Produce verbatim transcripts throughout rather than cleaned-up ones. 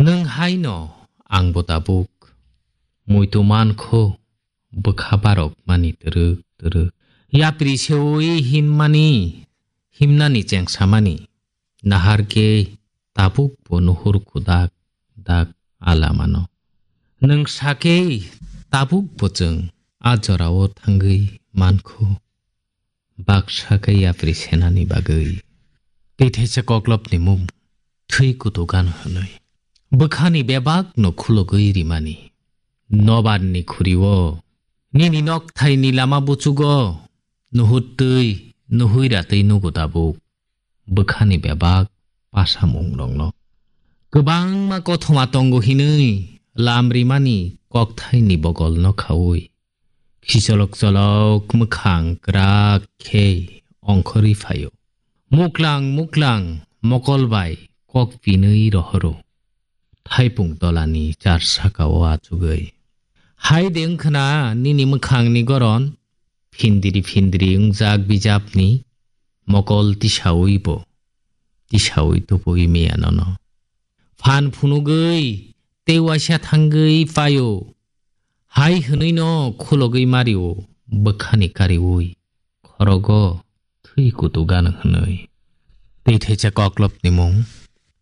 Nwng haino angbo tabuk muitu mankho bwkha barok mani twrwk twrwk. Yapri seui hinmani, himnani chengsamani. Nahar khe tabuk bo nuhur khudak dak alamano. Nwng sakhe tabuk bo chwng a jorao thangwi mankho. Baksa khe yapri senani bagwi. Tei theisa koklopni mung thwi kutugan hwnwi. Bwkhani bebakno khulogwi rimani. Nobarni khuriwo. Nini nokthaini lama buchugo. Nuhut twi, nuhui ratwi nugo tabuk. Bwkhani bebak pasamung rokno. Kwbangma kothoma tongo hinwi lam rimani kokthaini bogolno khaui. Khisolok cholok mwkhang kwrak khe ongkhorwi phaio. Muklang muklang mokol bai kok pinwi rohoro. Thaipung tolani char sakao achugwi. Hai de wngkhwna nini mwkhangni goron, phindiri phindiri wngjak bijapni mokol tisaui bo, tisaui tubui miya nono. Phan phunugwi tei waisa thangwi paio. Hai hwnwino khulogwi mario bwkhani kariui. Khorogo thwi kutugan hwnwi. Tei theisa koklopni mung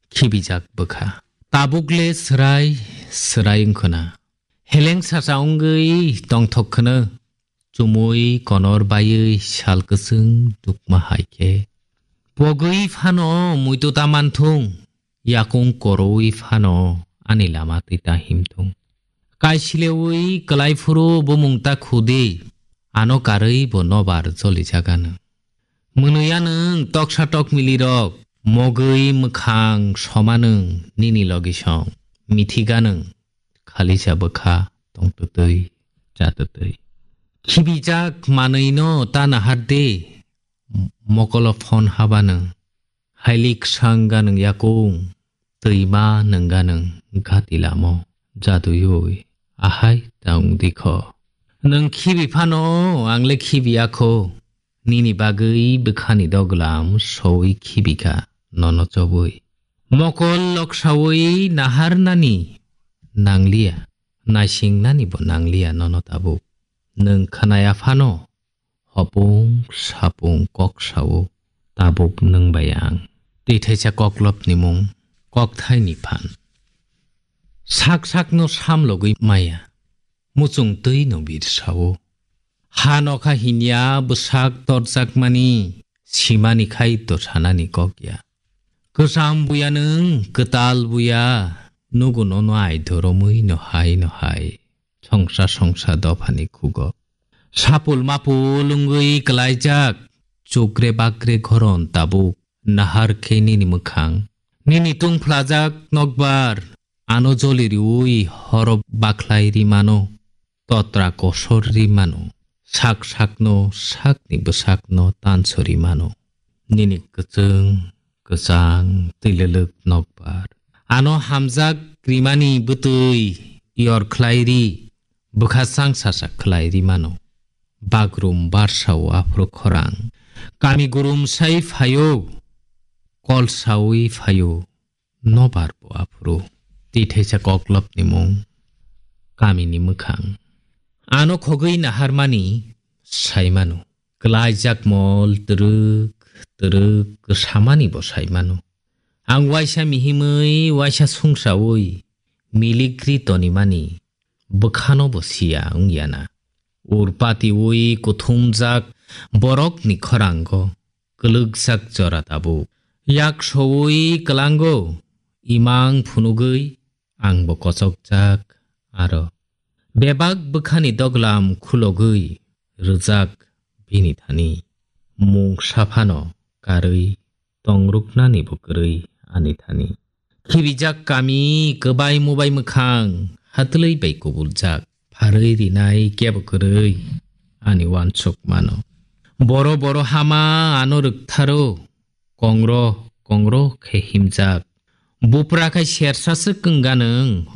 khibijak bwkha. Tabukle swrai swrai wngkhwna. Heleng sacha wngwi tongthok khwno. Chumui konor baiwi sal kwchwng dukma hai khe. Pogwi phano muitu ta manthung, yakung koroui phano ani lama twi ta himthung. Kaisileui kwlai phuru bumung ta khudi, ano karwi bo nobar jolijaganw. Mwnwi anwng toksa tokmilirok, mogwi mwkhang somanwng nini logisong, mithiganwng. Khalisa bwkha tongtwtwi chatwtwi. Khibijak manwino ta nahardi, mokolo phon habanwng. Hailik sangganwng yakung, twima nungganwng gati lamo jaduyui. Ahai ta wngdikho. Nwng khibi phano, angle khibiyakho. Nini bagwi bwkhani doglam soui khibikha nono chobwi. Mokol loksaui naharnani nangliya, naisingnani bo nangliya nono tabuk. Nwng khwnaya phano hopung sapung kok sao tabuk nwng bai ang. Tei theisa koklopni mung kokthaini phan. Sak sakno samlogwi maya, muchung twi no bir sao. Ha nokha hinya bwsak torjakmani, simani khai to sanani kok ya. Kwcham buya nwng, kwtal buya, nugo nono ai doromwi no hai no hai. Songsa songsa dophani khugo. Sapul mapul wngwi kwlaijak, chukre bakre goron tabuk. Nahar khe nini mwkhang. Nini tungphlajak nokbar, ano joli riui horo bakhlai ri mano, totra kosor ri mano, sak sakno sakni bwsakno tansori mano. Nini kwchwng, kwchang, twilwlwk nokbar. Ano hamjak rimani bwtwi yor khlai ri, bwkha chang sasak khlai ri mano. Bagrum barsao aphuru khorang. Kami gurum sai phaio, kol saui phaio, nobar bo aphuru. Tei theisa koklopni mung, kamini mwkhang. Ano khogwi naharmani sai mano. Kwlaijak mol twrwk twrwk kwsamani bo sai mano. Ang waisa mihimwi, waisa sungsaui, milikri tonimani bwkhano bo siya wngya na. Urpatiui kuthumjak borokni khorango kwlwkjak jora tabuk. Yak soui kwlango imang phunugwi ang bo kochokjak aro. Bebak bwkhani doglam khulogwi rwjak bini thani. Mung saphano karwi tongruknani bo kwrwi ani thani. Khibijak kami kwbai mubai mwkhang hatwlwi bai kubuljak. Pharwi rinai kebo kwrwi ani uansuk mano. Boro boro hama ano rwktharo, kongro kongro khe himjak. Bupra khai sersa swk wngganwng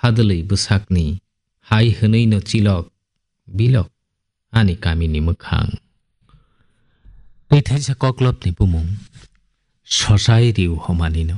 hadwlwi bwsakni. Hai hwnwi no chilok bilok ani kamini mwkhang. Tei theisa koklopni bumung sosai riu homanino.